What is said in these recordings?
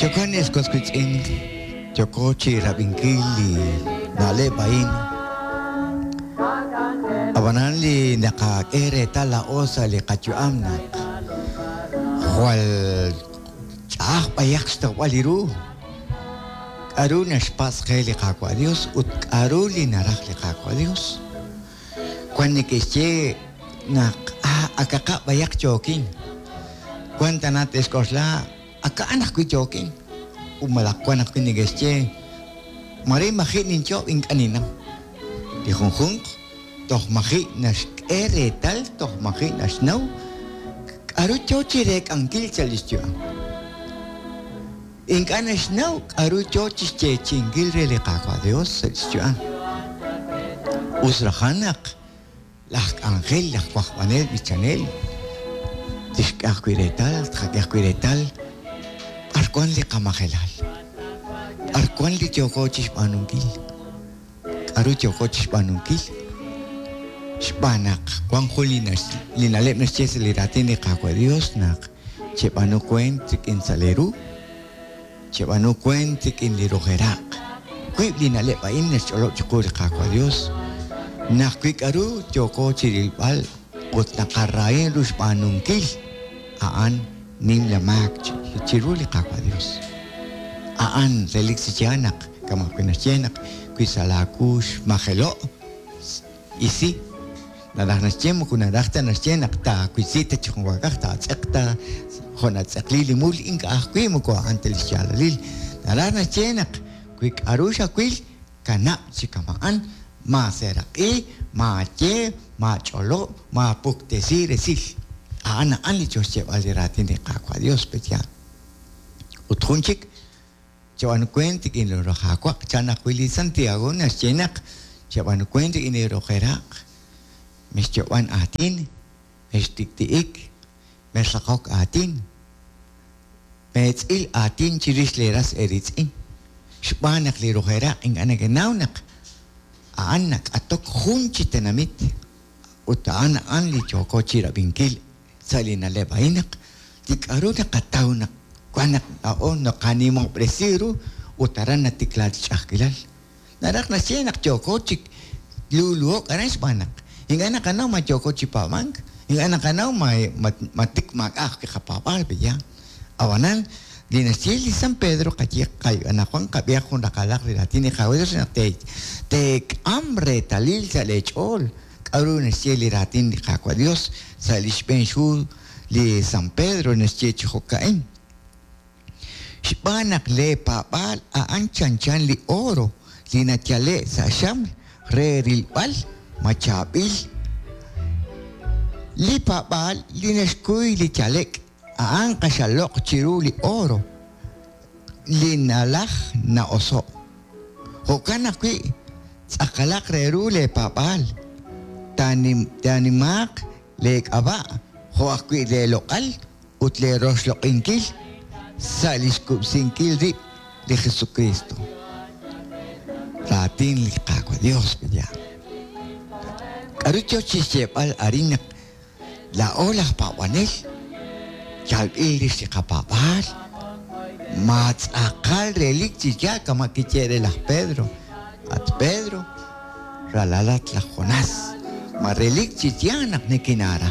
Jo'kan ex was wiitz'in, yooko chi rab'inkil li na'leb' a'in. Ab'anan li naqak'e reetal laa'o sa' li qayu'am naq jwal ch'a'aj b'ayaq xtawb'al li ru k'a'ru naxpatz' qe li Qaawa' Dios ut k'a'ru li naraj li Qaawa' Dios. Wan neke'xye naq akaq b'ayaq yookin. Wan tana te'xk'oxla aka'an ajwi' yookin. Ut malaj wan ajwi' neke'xye mare maji' ninyo'ob' ink'a' ninnaw. Li junjunq toj maji' naxk'e reetal, toj maji' naxnaw k'a'ru yoo chi reek'ankil sa' lix yu'am. Ink'a' naxnaw k'a'ru yoo chixyeechi'inkil re li Qaawa' Dios sa' lix yu'am. Us rajan naq laj k'anjel, laj wajb'anel, b'ichanel, tixk'e ajwi' reetal, tqak'e ajwi' reetal b'ar wan li qamajelal, b'ar wan li yooko chixb'aanunkil, k'a'ru yooko chixb'aanunkil, xb'aan naq wan jun li na'leb' naxye sa' li raatin li Qaawa' Dios naq Cheb'aanu weent rik'in sa' lee ru, cheb'aanu weent rik'in li rujeraq. Wiib' li na'leb' a'in naxch'olob' chiqu li Qaawa' Dios, naq wi k'a'ru yooko chirilb'al ut naqarahin ru xb'aanunkil, a'an nimla maak chiru li Qaawa' Dios. A'an relik chi yaal naq kama' wi naxye naq wi sa' laa wu xmajelo', isi. Naraj naxye moko naraj ta naxye naq taawisi ta chi junwaakaj, taatz'eq ta jo' natz'eqli li mul, ink'a' ajwi' moko a'an ta li xyaalalil. Naraj naxye naq wi k'a'ru xawil, kanab' chi kama'an, maaseeraq'i, maaye, maach'olob', maapuktesi resil. A'an a'an li yo xyeeb'al li raatin li Qaawa' Dios, pe'yaal? Ut jun chik, Cheb'aanu weent rik'in li Qaawa', chan ajwi' li Santiago naxye naq cheb'aanu weent rik'in li rojeraq, mexyoob'an aatin, mextik'ti'ik, mexraqok aatin, meetz'il aatin chirix leeras eeriitz'in, xb'aan naq li rojeraq ink'a' nekenaw naq a'an nak'atok jun chi tenamit ut a'an a'an li yooko chi rab'inkil sa' li na'leb' a'in naq li k'a'ru naqataw naq wan naq laa'o naqanimob'resi ru ut aran natikla li ch'a'ajkilal. Naraj naxye naq yooko chi luuluhok aran xb'aan naq ink'a' naqanaw ma yooko chi paab'ank, ink'a' naqanaw ma tik maak'a' ajwi' qapaab'aal pe'yaal. Ab'anan, li naxye li San Pedro qaye anaqwan qab'ihaq jun raqalaq li raatin li Qaawa' Dios naq teek'am reetalil sa' lee ch'ool K'aru naxye li Raatin li Qaawa' Yos sa' li xb'een xhu li San Pedro naxye chi jo'ka'in, Xb'aan naq leepaab'aal a'an chanchan li oro li nayale'k sa' xaml re rilb'al ma chaab'il. Li paab'aal li naxkuy li yale'k a'an q'axal loq' chiru li oro li nalaj na'oso'. Jo'kan ajwi' tz'aqalaq re ru leepaab'aal, taanimaaq leek'ab'a' jo' ajwi' leeloq'al ut leeroxloq'inkil sa' li xkub'sinkil rib' li Jesukriist. Raatin li Qaawa' Yos, pe'yaal? K'aru yo chi xyeeb'al arin naq Laa'o laj paab'anel yalb'il rix li qapaab'aal, ma tz'aqal relik chi yaal kama' kiye re laj Pedro, At Pedro, ralalat laj Jonás, ma relik chi yaal naq nikinaara?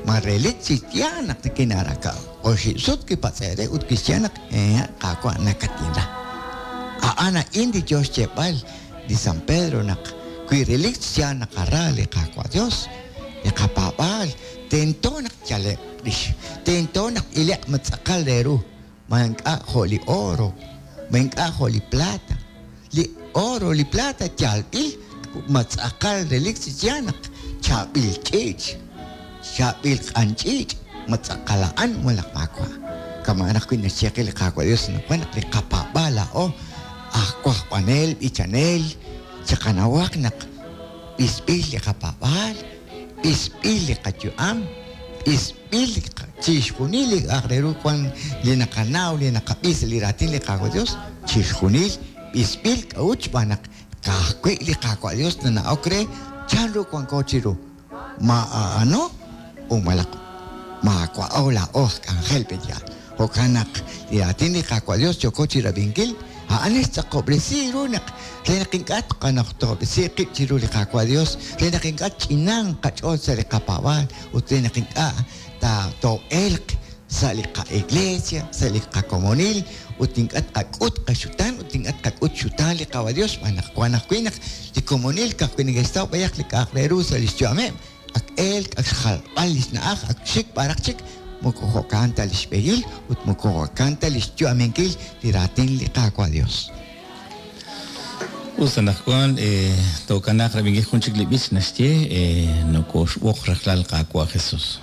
Ma relik chi yaal naq nikinaara? Oxib' sut kipatz'e' re ut kixye naq, Hehe', Qaawa', nakatinra. A'an a'in li yo xyeeb'al li San Pedro naq wi relik chi yaal naqara li Qaawa' Dios, Li qapaab'aal tento naq yale'q rix, tento naq ile'q ma tz'aqal re ru, ma ink'a' jo' li oro, ma ink'a' jo' li plata. Li oro, li plata yalb'il ma tz'aqal relik chi yaal naq chaab'il ch'iich', chaab'il q'an ch'iich', ma tz'aqal a'an malaj maawa'. Kama'an ajwi' naxye qe li Qaawa' Dios anaqwan naq li qapaab'aal laa'o aj wajb'anel, b'ichanel, chiqanawaq naq B'isb'il li qapaab'aal, b'isb'il li qayu'am, b'isb'il chixjunil li k'a'aq re ru wan li naqanaw, li naqab'i sa' li raatin li Qaawa' Dios, chixjunil b'isb'il. K'a'ut? Xb'aan naq ka'ajwi' li Qaawa' Dios nana'ok re chanru wanko chiru, ma a'ano u malaq maawa'o laa'o aj k'anjel pe' yaal. Jo'kan naq li raatin li Qaawa' Dios yooko chirab'inkil, a'an naxtz'aqob'resi ru naq re naq ink'a' tqanajtob'resi qib' chiru li Qaawa' Dios, re naq ink'a' tch'inanq qach'ool sa' li qapaab'aal ut re naq ink'a' too'elq sa' li qa'iglesia, sa' li qakomonil ut ink'a' tqak'ut qaxutaan ut ink'a' tqak'ut xxutaan li Qaawa' Dios xb'aan naq wan ajwi' naq li komonil ka'ajwi' neke'xtaw b'ayaq li k'a'aq re ru sa' li xyu'ameb', ak elk, ak xjalb'al li xna'aj, ak xik b'araq chik, moko jo'kan ta li xb'ehil ut moko jo'kan ta li xyu'aminkil li raatin li Qaawa' Dios. Us anaqwan tookanaaq rab'inkil jun chik li b'ich naxye, Nokoxb'oq rajlal Qaawa' Jesus.